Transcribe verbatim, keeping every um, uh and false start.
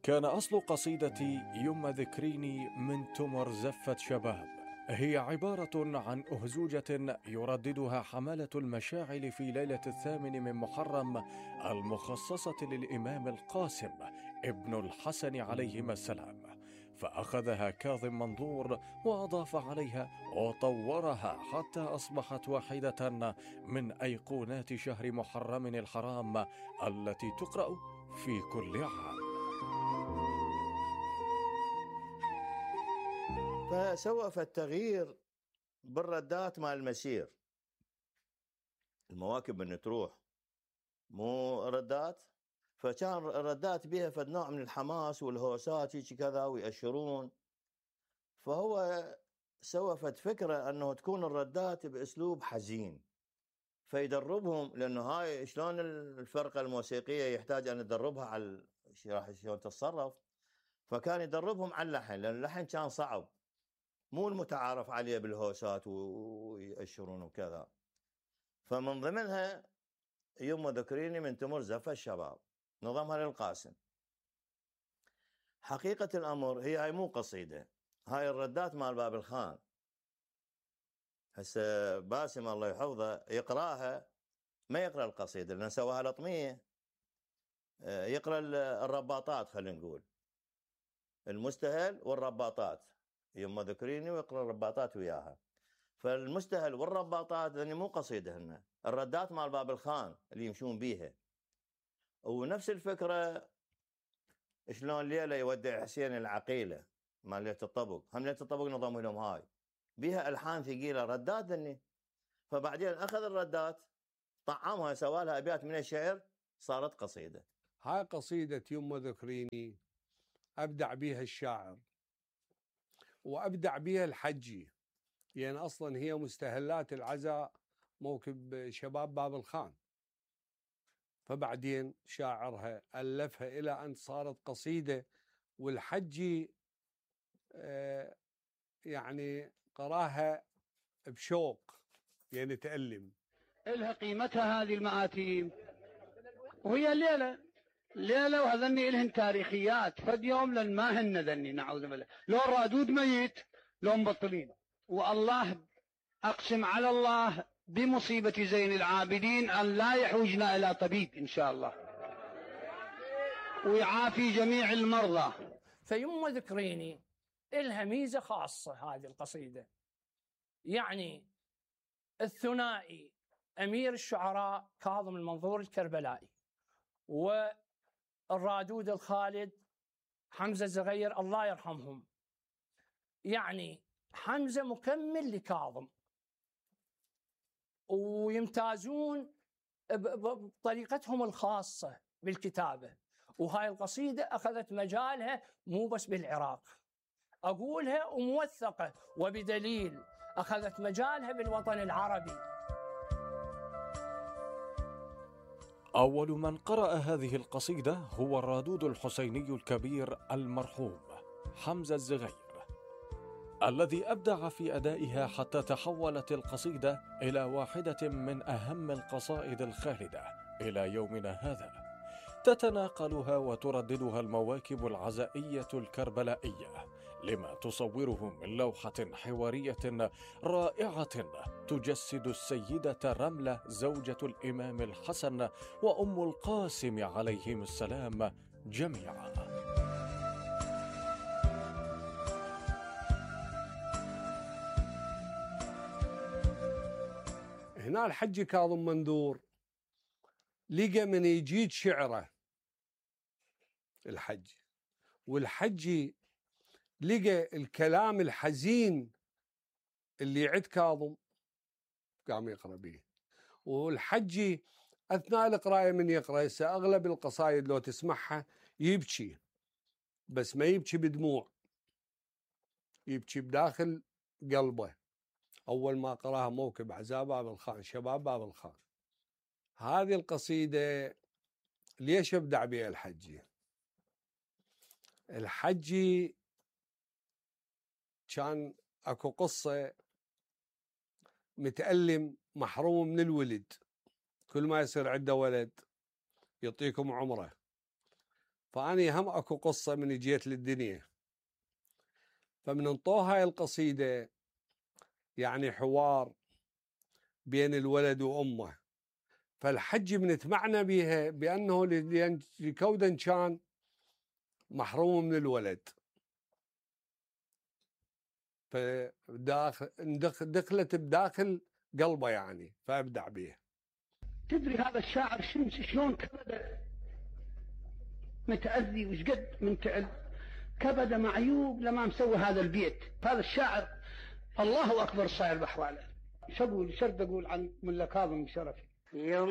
كان أصل قصيدتي يم ذكريني من تمر زفة شباب هي عبارة عن أهزوجة يرددها حملة المشاعل في ليلة الثامن من محرم المخصصة للإمام القاسم ابن الحسن عليهما السلام، فأخذها كاظم منظور وأضاف عليها وطورها حتى أصبحت واحدة من أيقونات شهر محرم الحرام التي تقرأ في كل عام. فسوف التغيير بالردات مال المسير، المواكب من تروح مو ردات، فكان الردات بها فد نوع من الحماس والهوسات هيك كذا ويأشرون، فهو سوى فد فكرة انه تكون الردات باسلوب حزين فيدربهم، لانه هاي شلون الفرقة الموسيقية يحتاج ان يدربها على راح شلون تتصرف، فكان يدربهم على اللحن، لان اللحن كان صعب مو المتعارف عليه بالهوسات ويأشرون وكذا. فمن ضمنها يم ذكريني من تمر زفة الشباب نظمها للقاسم. حقيقة الأمر هي هاي مو قصيدة، هاي الردات مال باب الخان. هسه باسم الله يحفظه يقراها ما يقرأ القصيدة لأنه سواها لطمية، يقرأ الرباطات، خلينا نقول المستهل والرباطات، يم ذكريني ويقرأ الرباطات وياها. فالمستهل والرباطات لأن مو قصيدة هن الردات مال باب الخان اللي يمشون بيها. ونفس الفكرة شلون ليلة يودع حسين العقيلة مال ليلة الطبق، هم ليلة الطبق نظموا لهم هاي بيها ألحان ثقيلة ردات ذني، فبعدين أخذ الردات طعمها سوالها أبيات من الشعر صارت قصيدة. هاي قصيدة يم ذكريني أبدع بيها الشاعر وأبدع بيها الحجي، يعني أصلا هي مستهلات العزاء موكب شباب باب الخان، فبعدين شاعرها ألفها إلى أن صارت قصيدة، والحجي آه يعني قراها بشوق، يعني تألم. إلها قيمتها هذه المآتيم، وهي الليلة ليلة وهذني إلهن تاريخيات، فد يوم لن ما هن ذني نعوذ بالله، لو الرادود ميت لو مبطلين، والله أقسم على الله بمصيبة زين العابدين أن لا يحوجنا إلى طبيب إن شاء الله ويعافي جميع المرضى. فيم ذكريني إلها ميزة خاصة هذه القصيدة، يعني الثنائي أمير الشعراء كاظم المنظور الكربلائي والرادود الخالد حمزة الزغير الله يرحمهم، يعني حمزة مكمل لكاظم ويمتازون بطريقتهم الخاصة بالكتابة. وهاي القصيدة أخذت مجالها مو بس بالعراق، أقولها وموثقة وبدليل، أخذت مجالها بالوطن العربي. أول من قرأ هذه القصيدة هو الرادود الحسيني الكبير المرحوم حمزة الزغير، الذي أبدع في أدائها حتى تحولت القصيدة إلى واحدة من أهم القصائد الخالدة إلى يومنا هذا، تتناقلها وترددها المواكب العزائية الكربلائية لما تصوره من لوحة حوارية رائعة تجسد السيدة رملة زوجة الإمام الحسن وأم القاسم عليهم السلام جميعا. هنا الحجي كاظم منذور لقى من يجيد شعره الحجي، والحجي لقى الكلام الحزين اللي يعد كاظم قام يقرأ به. والحجي أثناء القراءة من يقرأ أغلب القصائد لو تسمعها يبكي، بس ما يبكي بدموع، يبكي بداخل قلبه. أول ما قراها موكب عزاء باب الخان شباب باب الخان. هذه القصيدة ليش أبدع بها الحجي؟ الحجي كان أكو قصة متألم محروم من الولد، كل ما يصير عنده ولد يعطيكم عمره، فأني هم أكو قصة من جيت للدنيا، فمن انطوه هاي القصيدة يعني حوار بين الولد وأمه، فالحج بنتمعنى بها بأنه لكودا كان محروم من الولد، فدخلت بداخل قلبه يعني فأبدع بها. تدري هذا الشاعر شلون كبد متأذي وشقد منتعب، كبد معيوب لما مسوي هذا البيت. هذا الشاعر الله أكبر صاير بأحواله. شو أقول شرط أقول عن ملا كاظم شرفي.